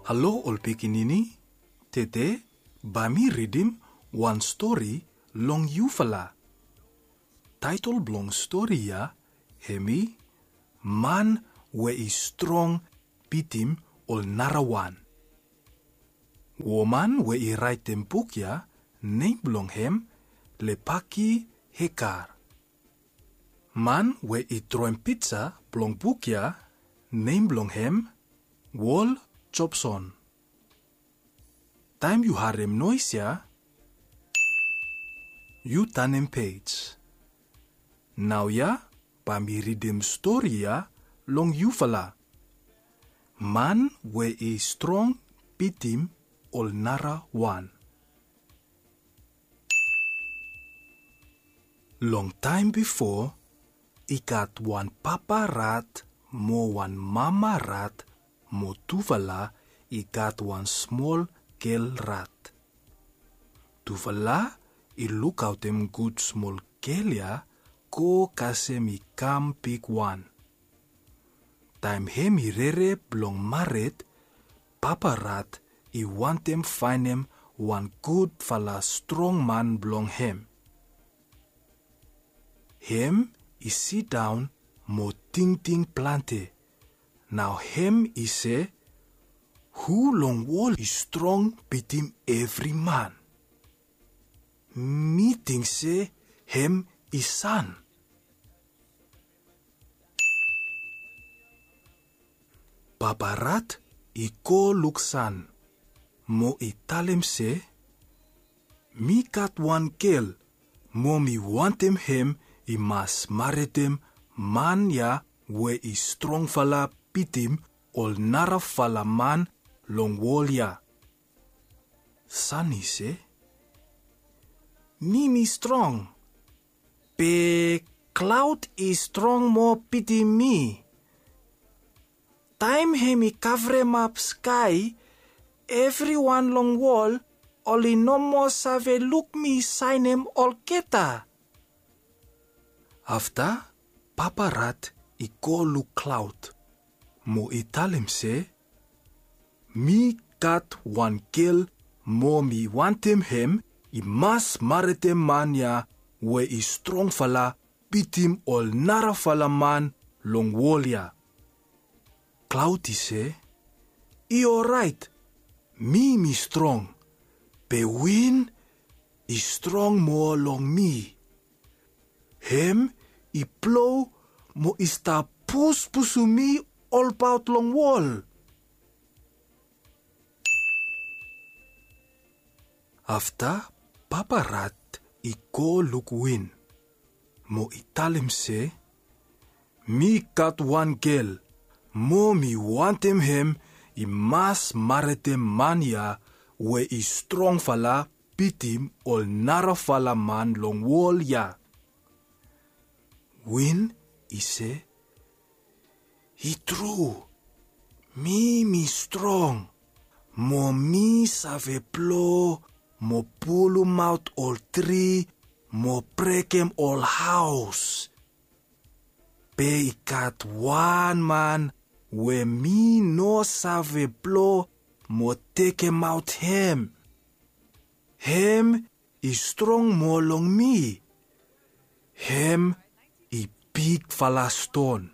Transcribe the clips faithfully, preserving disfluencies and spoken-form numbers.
Halo ol pikinini, tede bae mi ridim wan stori long yufala. Taetol blong stori ya hemi Man we i Strong Bitim Ol Narawan. Woman we i raetem buk ya, nem blong hem Lepaki Hekar. Man we i droem pija blong buk ya, nem blong hem Wol Jobson. Taem yu harem noes ya, yu tanem pej. Naoia bae mi ridim stori ya long yufala. Man we i Strong Bitim Ol Narawan. Long taem bifo, i gat wan papa rat mo wan mama rat mo tufala i gat wan smol gel rat. Tufala i lukaotem gud smol gel ya go kasem i kam bigwan. Taem hem i rere blong mared, papa rat i wantem faenem wan gudfala strong man blong hem. Hem i sidaon mo tingting plante. Nao hem i se, hu long wol i strong bitim evri man? Mi ting se hem i san. Papa rat i go luk san mo i talem se, mi gat wan gel mo mi wantem hem i mas maredem man ya we i strongfala bitim ol narafala man long wol ya. San i se, mi mi strong, be klaod i strong moa bitim mi. Taem hem i kavremap skae, evriwan long wol oli no moa save luk mi saenem olgeta. Afta papa rat i go luk klaod mo i talem se, mi gat wan gel mo mi wantem hem i mas maredem man ya we i strongfala bitim ol narafala man long wol ya. Klaod i se, i oraet, mi mi strong, be win i strong moa long mi. Hem i blo mo i stap puspusum mi olbaot long wol. Afta papa rat i go luk win mo i talem se, mi gat wan gel mo mi wantem hem i mas maredem man ya we i strongfala bitim ol narafala man long wol ya. Win i se, i tru, mi mi strong, mo mi save blo mo pulumaot ol tri mo brekem ol haos. Be i gat wan man we mi no save blo mo tekemaot hem. Hem i strong moa long mi. Hem i bigfala ston.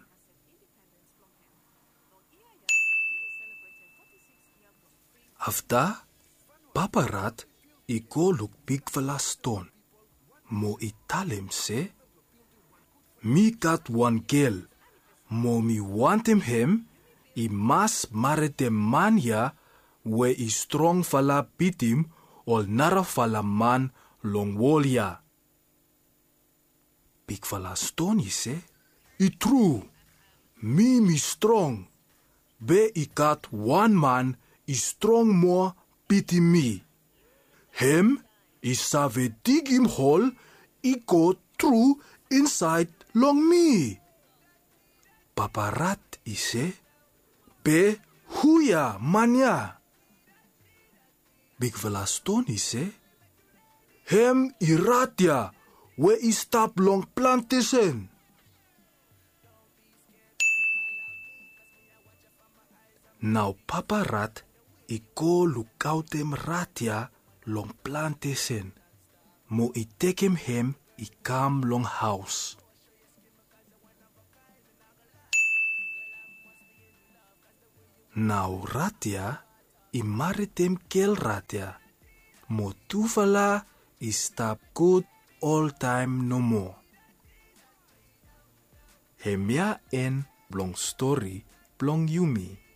Afta papa rat i go luk bigfala ston mo i talem se, mi gat wan gel mo mi wantem hem i mas maredem man ya we i strongfala bitim ol narafala man long wol ya. Bigfala ston i se, i tru, mi mi strong, be i gat wan man i strong moa bitim mi. Hem i save digim hol i go tru insaed long mi. Papa rat i se, be hu ya man ya? Bigfala ston i se, hem i rat ya we i stap long plantesen. Nao papa rat i go lukaotem rat ya long plantesen, mo i tekem hem i kam long haos. Nao rat ya i maritem gel rat ya, mo tufala i stap gud oltaem nomo. Hemia en blong stori blong yumi.